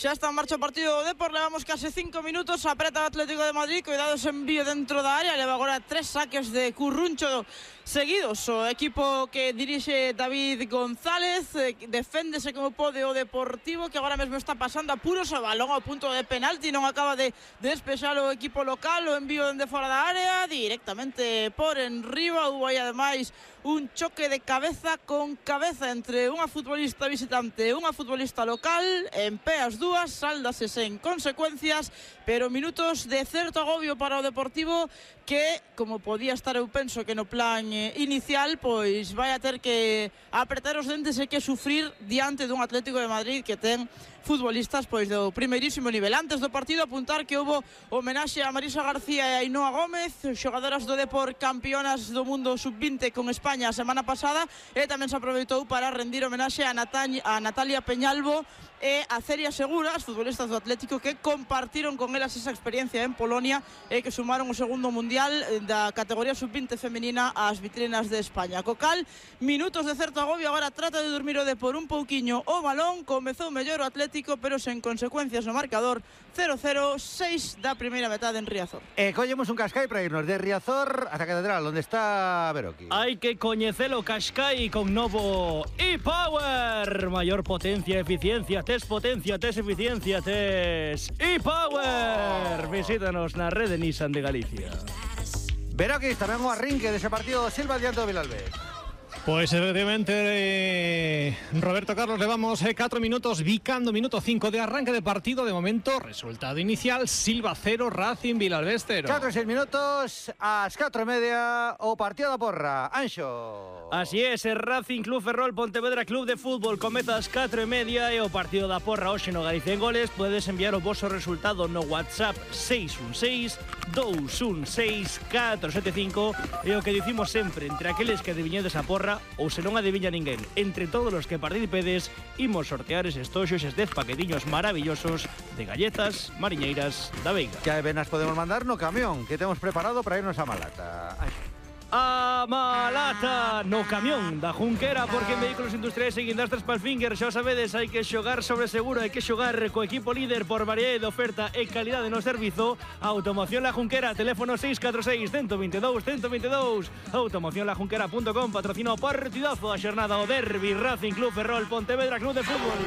Xa está en marcha o partido do Depor, levamos case 5 minutos, apreta o Atlético de Madrid, cuidado ese envío dentro da área, leva agora 3 saques de Curruncho seguidos. O equipo que dirixe David González deféndese como pode o Deportivo, que agora mesmo está pasando apuros, o balón ao punto de penalti, non acaba de despexar o equipo local, o envío dende fora da área, directamente por enriba. Hubo aí ademais un choque de cabeza con cabeza entre unha futbolista visitante e unha futbolista local, en pé as dúas, sáldase sen consecuencias, pero minutos de certo agobio para o Deportivo que, como podía estar, eu penso que no plan inicial, pois vai a ter que apretar os dentes e que sufrir diante dun Atlético de Madrid que ten futbolistas pois do primeirísimo nivel. Antes do partido, apuntar que houbo homenaxe a Marisa García e a Ainhoa Gómez, xogadoras do Depor campeonas do mundo sub-20 con España a semana pasada, e tamén se aproveitou para rendir homenaxe a Natalia Peñalvo e a Celia Segura, as futbolistas do Atlético, que compartiron con elas esa experiencia en Polonia e que sumaron o segundo mundial da categoría sub-20 femenina ás vitrinas de España. Co cal, minutos de certo agobio, agora trata de dormir o Depor un pouquiño o balón, comezou mellor o Atlético, pero sen consecuencias no marcador. 0-0, 6 da primeira metade en Riazor. Collemos un Cascai para irnos de Riazor ata Catedral, onde está Beroki. Hai que coñecelo Cascai con novo e-Power. Maior potencia, eficiencia, tes potencia, tes eficiencia, tes e-Power. Visítanos na rede Nissan de Galicia. Beroki, tamén o arrinque dese partido Silva diante do Vilalbés. Pues efectivamente, Roberto Carlos, levamos 4 minutos, Vicando minuto 5 de arranque de partido. De momento, resultado inicial, Silva 0, Racing Vilalbés 0. 4 e 6 minutos, ás 4:30 o partido da porra. Anxo. Así es, el Racing Club Ferrol Pontevedra Club de Fútbol comeza ás 4:30 e o partido da porra hoxe no Galicia en Goles. Podedes enviar o vosso resultado no WhatsApp 616-216-475 e o que dicimos sempre, entre aqueles que adiviñedes a porra ou se non adiviña ninguén, entre todos os que participedes, imos sortear eses toxos, eses 10 paquetiños maravillosos de galletas mariñeiras da Veiga. Que apenas podemos mandar no camión que temos preparado para irnos a Malata. A Malata no camión da Junquera, porque en Vehículos Industriais e Guindastres Palfinger, xa sabedes, hai que xogar sobre seguro, hai que xogar co equipo líder por variedade de oferta e calidade no servizo. Automoción La Junquera, teléfono 646-122-122. Automocionlajunquera.com, patrocina o partidazo a xornada o derbi Racing Club Ferrol Pontevedra Club de Fútbol.